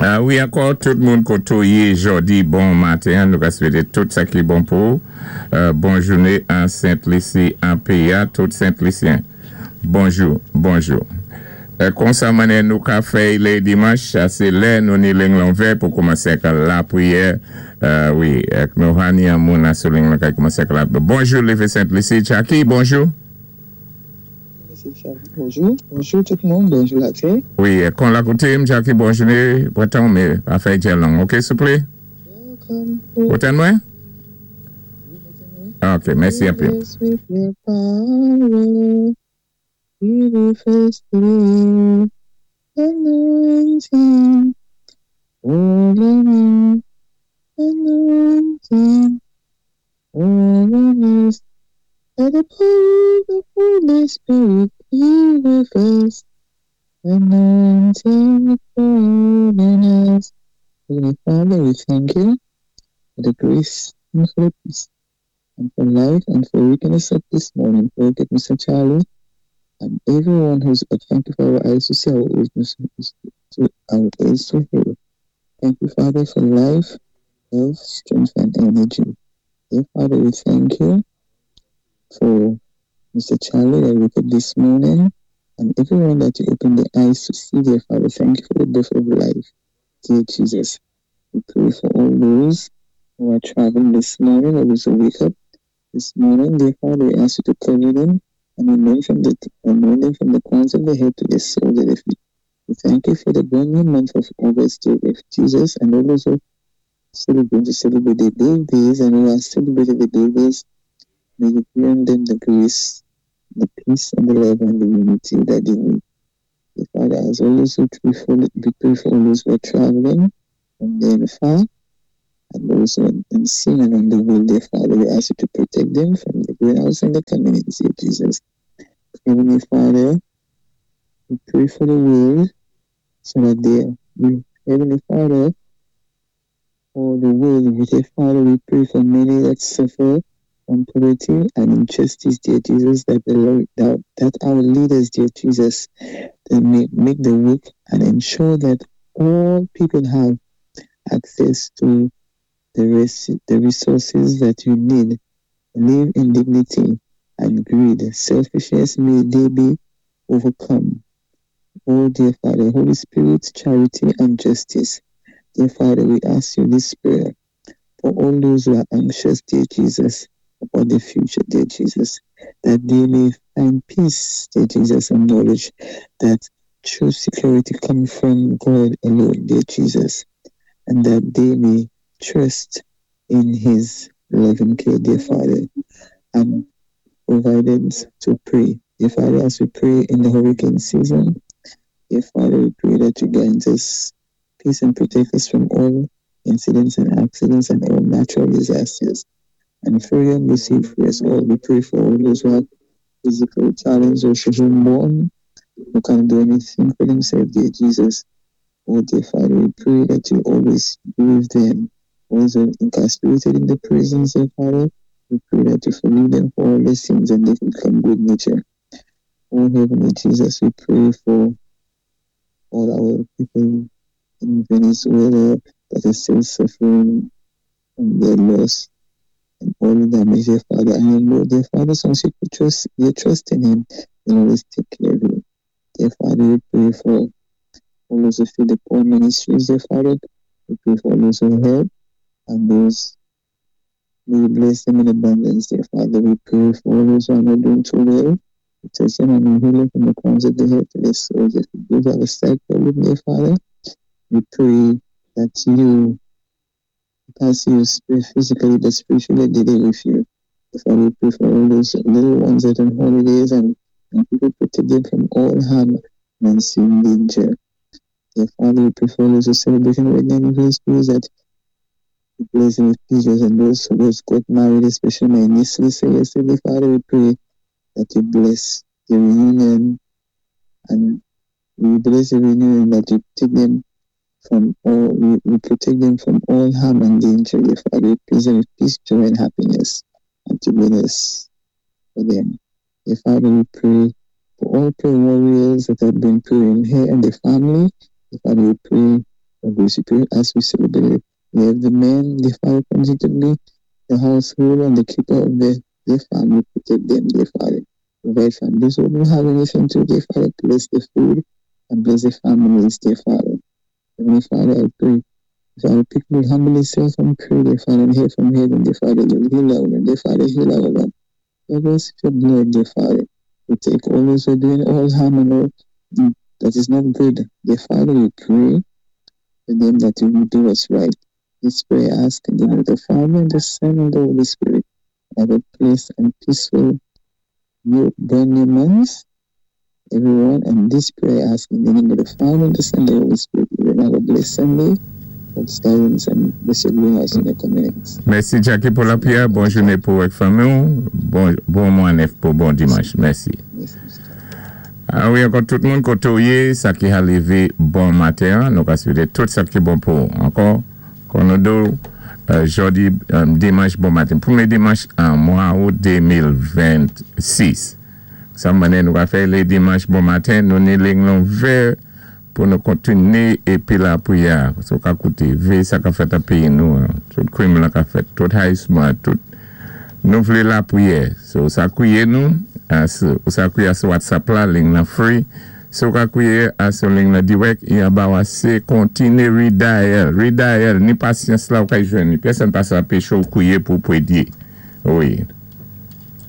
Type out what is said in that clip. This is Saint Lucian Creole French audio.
Wi, ankò tout moun koto yé jòdi, bon maten. Nou ka swété tout sa ki bon pou bon jouné an Sent Lisi, an péyi-a. Tout Sent Lisyen, bonjou, bonjou. Konsa mannyè nou ka fè lé dimanch, sé lè nou ni ling lan ouvè pou koumansé ak lapriyè. Wi, nou ha ni an moun sou ling lan ka koumansé ak la. Bonjou, Lévé Sent Lisi. Jackie, bonjou. Bonjou, bonjou tout moun, bonjou latè. Wi, kon la koté, Jackie, bon jouné, pran mé pa fè djè long, OK, souplé? Ou tann mwen? OK, mèsi anpil. With your power, we will face the anointing, holy anointing, holiness. By the power of the Holy Spirit, be with us, anointing, holiness. Heavenly Father, we thank you for the grace and for the peace and for life and for waking us up this morning, for get Mr. Charlie and everyone who's up. Thank you for our eyes to see, our ears to, our ears to hear. Thank you, Father, for life, love, strength, and energy. Dear Father, we thank you for Mr. Charlie that woke up this morning and everyone that you opened the eyes to see, dear Father. Thank you for the gift of life, dear Jesus. We pray for all those who are traveling this morning or those who wake up this morning. Dear Father, we ask you to cover them and anoint them from the crowns of the head to the soles of the feet. We thank you for the brand new month of August, dear Jesus, and all those who celebrate to celebrate their birthdays and who are celebrating their birthdays. May you grant them the grace, the peace, and the love and the unity that they need. Dear Father, as always, we pray for, we pray for all those who are traveling from near and far, and those who are in sin and on the way, dear Father, we ask you to protect them from the going out and the coming in, dear Jesus. Heavenly Father, we pray for the world so that they, we, Heavenly Father, for the world, dear Father, we pray for many that suffer from poverty and injustice, dear Jesus, that the Lord, that our leaders, dear Jesus, they may make the work and ensure that all people have access to the resources that you need. Live in dignity and greed, selfishness, may they be overcome. Oh, dear Father, Holy Spirit, charity and justice. Dear Father, we ask you this prayer for all those who are anxious, dear Jesus, about the future, dear Jesus, that they may find peace, dear Jesus, and knowledge that true security comes from God alone, dear Jesus, and that they may trust in His loving care, dear Father, and providence to pray. Dear Father, as we pray in the hurricane season, dear Father, we pray that you grant us peace and protect us from all incidents and accidents and all natural disasters. And for your mercy for us all, we pray for all those who have physical challenges or children born who can't do anything for themselves, dear Jesus. Oh, dear Father, we pray that you always be with them. Those who are incarcerated in the prisons, dear Father, we pray that you forgive them for all their sins and they can become good nature. Oh, Heavenly Jesus, we pray for all our people in Venezuela that are still suffering from their loss and all the damage, dear Father. And you know, dear Father, since you put trust, your trust in Him, He'll always take care of you. Dear Father, we pray for all those who feed the poor ministries, dear Father. We pray for all those who help and those. May you bless them in abundance, dear Father. We pray for all those who are not doing too well. We touch them and we heal them from the crowns of the head to the soles. If those have a sight problem, dear Father, we pray that you pass you physically but spiritually they day with you. Father, we pray for all those little ones that are on holidays and people, protect them from all harm and unseen danger. Dear Father, we pray for all those who are celebrating wedding anniversaries, that you bless them with peace, and those who just got married, especially my niece Lisa yesterday, Father, we pray that you bless the reunion and we bless the reunion, that you take them from all, we protect them from all harm and danger. Dear Father, we bless them with peace, joy, and happiness and togetherness for them. Dear Father, we pray for all prayer warriors that have been praying here and the family. Dear Father, we pray For grace, we pray as we celebrate the the men, dear Father, continue to be the household and the keeper of their family. Protect them, dear Father. Provide for those who don't have anything to, dear Father, bless the food and bless the families, dear Father. Heavenly Father, I pray. If our people will humble themselves and pray, dear Father, and hear from heaven, dear Father, you'll heal our land, dear Father, heal our land. Cover us with your blood, dear Father. We take all those who are doing all harm and all that is not good. Dear Father, we pray for them that you will do us right. This prayer I ask in the name of the Father, and the Son, and the Holy Spirit. Have a blessed and peaceful new brand new month, everyone. And this prayer I ask in the name of the Father, and the Son, and the Holy Spirit. Everyone have a blessed Sunday. God's guidance and bless your greenhouse in your communities. Mèsi Jackie pou lapriyè, bon jouné pou ou ak fanmi ou, bon bon mwa nèf pou bon dimanch. Mèsi. Mèsi, Mr. Charlie. A wi ankò tout moun koté ou yé, sa ki ha lévé bon maten an, nou ka swété tout sa ki bon pou ou. Ankò, kon nou di w, jòdi dimanch bon maten, premyé dimanch an mwa out 2026. Sa mande nou ka fè lé dimanch bon maten, nou ni ling lan ouvè pou nou kontiné épi lapriyè a. Si ou ka kouté, véyé sa ka fèt an péyi nou an, tout krim lan ka fèt, tout hayisman, tout nou vlé lapriyè. So ou sa kwiye nou, ou sa kwiye sou WhatsApp la, ling lan free. Si ou ka kwiye sou ling lan dirèk, i anba wa sé kontiné redial, redial, ni pasyans la ou ka jwenn li. Pèsòn pa sa anpeché ou kwiye pou pwédyé. Wi.